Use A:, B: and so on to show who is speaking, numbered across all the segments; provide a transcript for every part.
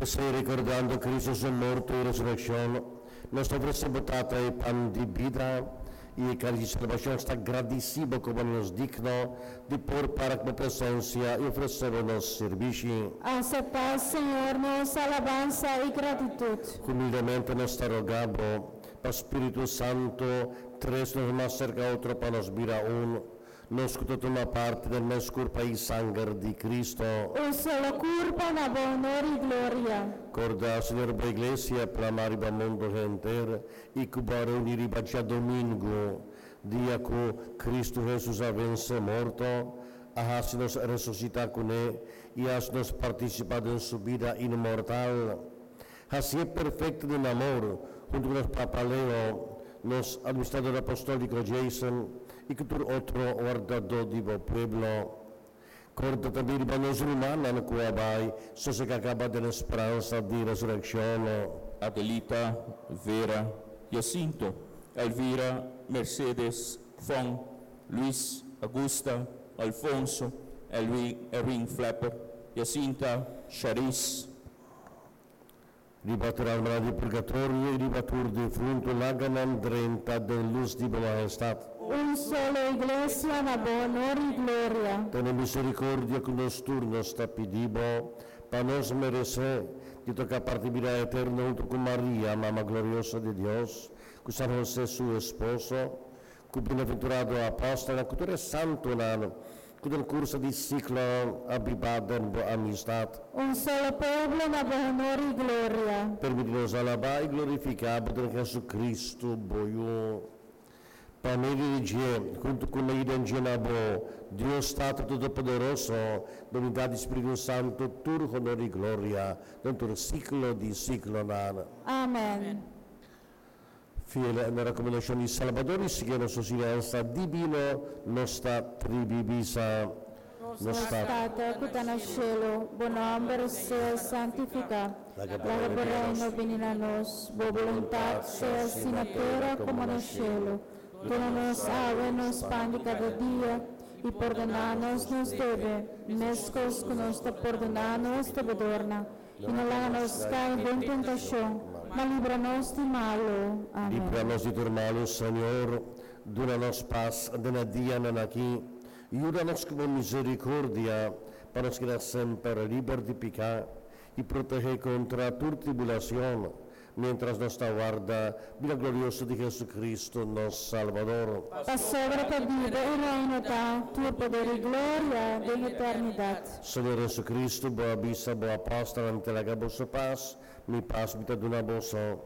A: P'esei, rekordando Kristu su morto i resurekshon, nos ta ofresé bo Tata e pan di bida i e kalis di salbashon. Nos ta gradisí bo komo nos digno di por para ku bo presensia i ofresé bo nos sirbishi.
B: Aseptá, Señor, nos alabansa i gratitut.
A: Humildemente nos ta rogá bo, pa Spiritu Santu trese nos mas serka otro pa nos bira un, nos ku ta tuma parti den mes kurpa i sanger di Kristu.
B: Un solo kurpa na bo honor i gloria.
A: Korda, Señor, bo Iglesia plamá riba mundu henter i ku bo a reuní riba djadumingu, dia ku Kristu Hesus a vense morto, a hasi nos resusitá kuné i hasi nos partisipá den su bida inmortal. Hasié perfekto den amor, huntu ku nos Papa Leo, nos Administrador Apostóliko Jason i ku tur otro wardadó di bo pueblo. Kòrda tambe riba nos rumannan ku a bai sosegá kaba den e speransa di resurekshon.
C: Adelita, Vera, Jacinto, Elvira, Mercedes, Fon, Luis, Augusta, Alfonso, Elwin, Erwin Flapper, Jacinta, Charis.
A: Riba tur almanan di purgatorio i riba tur defuntu laga nan drenta den lus di bo mahestat.
B: Un solo Iglesia na bo honor i gloria.
A: Tene misericordia cu nos tur, nos ta pidi bo, pa nos merece di toca parti bida eterno hunto cu Maria, Mama gloriosa di Dios, cu San Jose su esposo, cu bienaventurado apostelnan, cu tur e santonan cu den curso di siglonan a biba den bo amistad.
B: Un solo pueblo na bo honor i gloria.
A: Permiti nos alabá i glorifiká bo den Jesucristo, bo Yu. Pa medio di dje, huntu ku ne i den dje na bo, Dios Tata Todopoderoso, den unidat di Spiritu Santu, tur honor i gloria den tur siglo di siglonan.
B: Amen.
A: Fiel na rekomendashon di Salbador i siguiendo su siñansa dibino, nos ta tribi bisa,
B: Nos Tata ku ta na shelu, bo nòmber sea santifiká. Laga bo Reino bini na nos. Bo boluntat sea hasi na tera komo na shelu. Duna nos awe nos pan di kada dia, i pordoná nos nos debe, meskos ku nos ta pordoná nos debedornan. I no laga nos kai den tentashon, ma libra nos di malu. Amen.
A: Libra nos di tur malu, Señor. Duna nos pas den e dianan aki. Yuda nos ku bo misericordia, pa nos keda semper liber di piká i protehé kontra tur tribulacion, miéntras nos ta warda bida glorioso di Jesucristo, nos Salbador.
B: Pasobra ta di bo e reino ta, tur poder i gloria den eternidat.
A: Señor Jesucristo, bo a bisa bo apòstelnan, Mi ta laga boso pas, mi pas mi ta duna boso.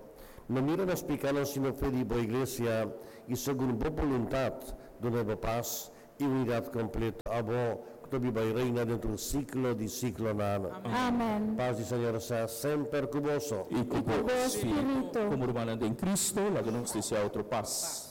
A: No mira nos pikánan sino fe di bo Iglesia, i segun bo boluntat duna bo pas i unidat kompleto abo ku ta biba i reina den tur siklo di siklonan.
B: Amen.
A: Pas di Señor sea semper ku boso.
C: I ku
B: bo
C: bo
B: spiritu.
C: Komo rumannan den Cristo, laga nos desea otro pas.